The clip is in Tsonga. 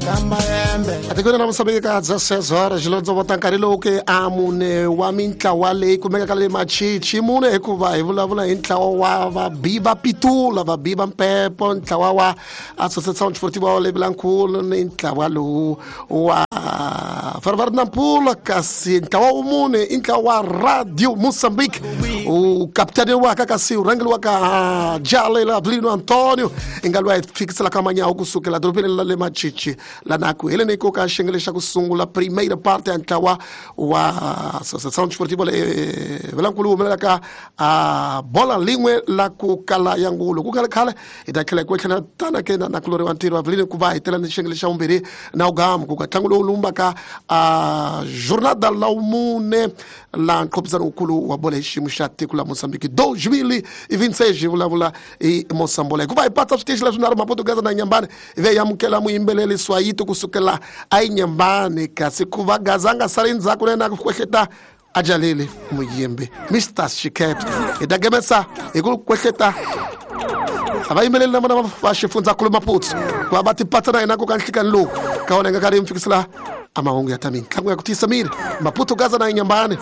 Atikweni ra Mosambiki ka 16 horas xilondzo vota nkarhi lowu ke a mune wa mintlawa leyi kumekaka le Machichi mune, hikuva hi vulavula hi ntlawa wa vabi va Pitula, vabi va Mpepo, ntlawa wa Associação Desportiva le Vilankulu ni ntlawa lowu wa Ferroviário Nampula. Kasi ntlawa wa mune i ntlawa wa Radio Mozambique, u kapitaniwaka kasi u rhangeliwaka Jalela Avelino Antonio, i nga lwa hi fikiselaka manyawu kusukela dorobeni la le Machichi lana ku heleni ko ka xiyenge xa ku sungula, primeira parte ya ntlawa wa Associação Desportiva le Vilankulu humelelaka a bola lin'we la ku kala ya ngulu. Ku nga ri khale hi ta tlhela hi ku tlhela tana ke na nakulori wa ntirho Avelino ku va hi tela ni xiyenge xa vumbirhi na ugamu ku ka ntlangu lowu lumbaka a jornada la mune la nqophisano wukulu wa bola hi xiyimo xa tiko la Mozambique 2026, hi vulavula hi Mosambola. Hikuva hi patsa switichi leswi nharhu, Maputo, Gaza na Nyambani, hi ve hi amukela muyimbeleri Swayito kusukela ayinyambani, kasi ku va Gaza a nga sali ndzhaku na yena ku kwehleta a jaleli muyimbi Mr Shiket. Hi ta gemesa hi ku kwehleta a va yimbeleli na vona va xifundzankulu Maputo ku va va tipatsa na hina ku ka nhlikani lowu ka wona hi nga karhi hi mi fikisela a mahungu ya ta mintlangu ya ku tiyisa miri, Maputo, Gaza na Inyambani.